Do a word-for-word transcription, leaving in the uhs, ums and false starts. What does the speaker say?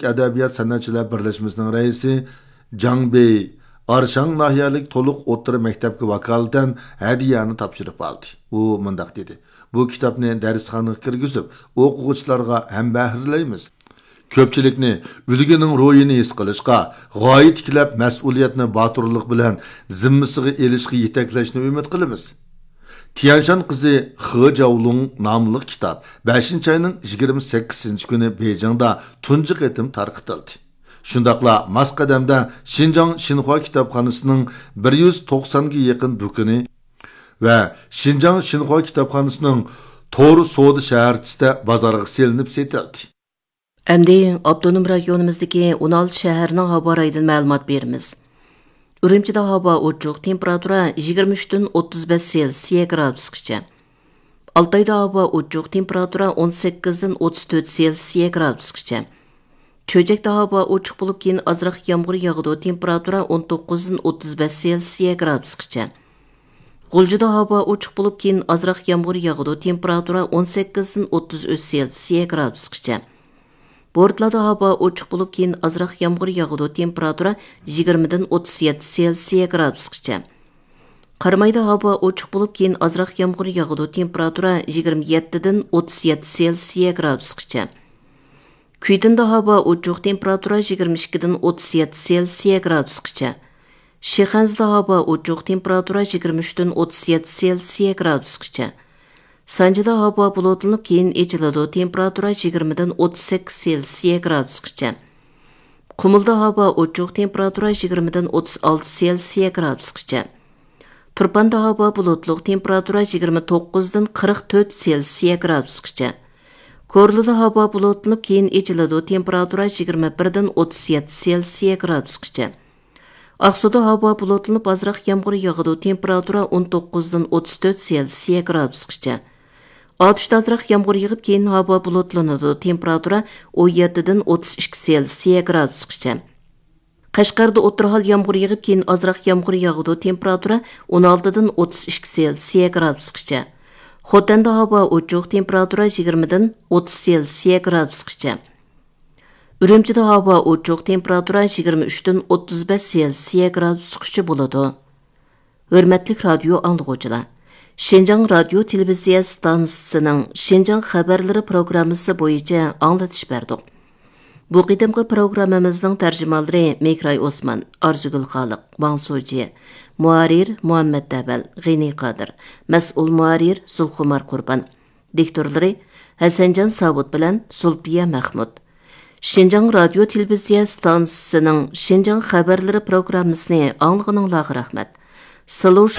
ئەدەبىيات سەنئەتچىلەر بىرلەشمىسىنىڭ رەئىسى جاڭ بېي ئارشاڭ ناھىيەلىك تولۇق ئوتتۇرا مەكتەپكە ۋاكالىتەن ھەدىيەنى تاپشۇرۇپ ئالدى. ئۇ مۇنداق دېدى: «بۇ كىتابنى دەرسخانىغا كىرگۈزۈپ، ئوقۇغۇچىلارغا ھەمبەھىرلەيمىز. كۆپچىلىكنى ئۈلگىنىڭ روھىنى ھېس قىلىشقا، غايە تىكلەپ مەسئۇلىيەتنى باتۇرلۇق بىلەن زىممىسىغا ئېلىشقا يېتەكلەشنى ئۈمىد قىلىمىز.» تيەنشان قىزى خې جاۋلۇڭ ناملىق كىتاب بەشىنچى ئاينىڭ يىگىرمە سەككىزىنچى كۈنى بېيجىڭدا تۇنجى قېتىم تارقىتىلدى. شۇنداقلا ماس قەدەمدە شىنجاڭ شىنخۇا كىتابخانىسىنىڭ بىر يۈز توقسانغا يېقىن دۇكىنى ۋە شىنجاڭ شىنخۇا كىتابخانىسىنىڭ تور سودا شەھەرچىسىدە بازارغا سېلىنىپ سېتىلدى. ئەمدى ئاپتونوم رايونىمىزدىكى ئون ئالتە شەھەرنىڭ ھاۋا رايىدىن مەلۇمات بېرىمىز. ئۈرۈمچىدە ھاۋا ئوچۇق، تېمپېراتۇرا يىگىرمە ئۈچتىن ئوتتۇز بەش سېلسىيە گرادۇسقىچە. ئالتايدا ھاۋا ئوچۇق، تېمپېراتۇرا ئون سەككىزدىن ئوتتۇز تۆت سېلسىيە گرادۇسقىچە. چۆچەكتە ھاۋا ئوچۇق بولۇپ، كېيىن ئازراق يامغۇر ياغىدۇ، تېمپېراتۇرا ئون توققۇزدىن ئوتتۇز بەش سېلسىيە گرادۇسقىچە. غۇلجىدا ھاۋا ئوچۇق بولۇپ، كېيىن ئازراق يامغۇر ياغىدۇ، تېمپېراتۇرا ئون سەككىزدىن ئوتتۇز ئۈچ سېلسىيە گرادۇسقىچە. بورتالادا ھاۋا ئوچۇق بولۇپ، كېيىن ئازراق يامغۇر ياغىدۇ، تېمپېراتۇرا يىگىرمىدىن ئوتتۇز يەتتە سېلسىيە گرادۇسقىچە. قارامايدا ھاۋا ئوچۇق بولۇپ، كېيىن ئازراق يامغۇر ياغىدۇ، تېمپېراتۇرا يىگىرمە يەتتىدىن ئوتتۇز يەتتە سېلسىيە گرادۇسقىچە. كۈيتۇندا ھاۋا ئوچۇق، تېمپېراتۇرا يىگىرمە ئىككىدىن ئوتتۇز يەتتە سېلسىيە گرادۇسقىچە. شىخەنزىدە ھاۋا ئوچۇق، تېمپېراتۇرا يىگىرمە ئۈچتىن ئوتتۇز يەتتە سېلسىيە گرادۇسقىچە. سانجىدا ھاۋا بۇلۇتلىنىپ، كېيىن ئېچىلىدۇ، تېمپېراتۇرا يىگىرمىدىن ئوتتۇز سەككىز سېلسىيە گرادۇسقىچە. قۇمۇلدا ھاۋا ئوچۇق، تېمپېراتۇرا يىگىرمىدىن ئوتتۇز ئالتە سېلسىيە گرادۇسقىچە. تۇرپاندا ھاۋا بۇلۇتلۇق، تېمپېراتۇرا يىگىرمە توققۇزدىن قىرىق تۆت سېلسىيە گرادۇسقىچە. كورلىدا ھاۋا بۇلۇتلىنىپ، كېيىن ئېچىلىدۇ، تېمپېراتۇرا يىگىرمە بىردىن ئوتتۇز يەتتە سېلسىيە گرادۇسقىچە. ئاقسۇدا ھاۋا بۇلۇتلىنىپ، ئازراق يامغۇر ياغىدۇ، تېمپېراتۇرا ئون توققۇزدىن ئوتتۇز تۆت سېلسىيە گرادۇسقىچە. ئاتۇشتا ئازراق يامغۇر يېغىپ، كېيىن ھاۋا بۇلۇتلىنىدۇ، تېمپېراتۇرا ئون يەتتىدىن ئوتتۇز ئىككى سېلسىيە گرادۇسقىچە. قەشقەردە ئوتتۇرا ھال يامغۇر يېغىپ، كېيىن ئازراق يامغۇر ياغىدۇ، تېمپېراتۇرا ئون ئالتىدىن ئوتتۇز ئىككى سېلسىيە گرادۇسقىچە. خوتەندە ھاۋا ئوچۇق، تېمپېراتۇرا يىگىرمىدىن ئوتتۇز سېلسىيە گرادۇسقىچە. ئۈرۈمچىدە ھاۋا ئوچۇق، تېمپېراتۇرا يىگىرمە ئۈچتىن ئوتتۇز بەش سېلسىيە گرادۇسقىچە بولىدۇ. ھۆرمەتلىك رادىيو ئاڭلىغۇچىلار! شىنجاڭ رادىيو تېلېۋىزىيە ئىستانسىسىنىڭ شىنجاڭ خەۋەرلىرى پروگراممىسى بويىچە ئاڭلىتىش بەردۇق. بۇ قېتىمقى پروگراممىمىزنىڭ تەرجىمانلىرى مېھراي ئوسمان، ئارزۇگۈل خالىق، ۋاڭ سوجى، مۇھەررىر مۇھەممەت دەۋەل، غېنى قادىر، مەسئۇل مۇھەررىر زۇلخۇمار قۇربان، دىكتورلىرى ھەسەنجان ساۋۇت بىلەن زۇلپىيە مەخمۇت. شىنجاڭ رادىيو تېلېۋىزىيە ئىستانسىسىنىڭ شىنجاڭ خەۋەرلىرى پروگراممىسىنى ئاڭلىغىنىڭلارغا رەھمەت. سىلۇش.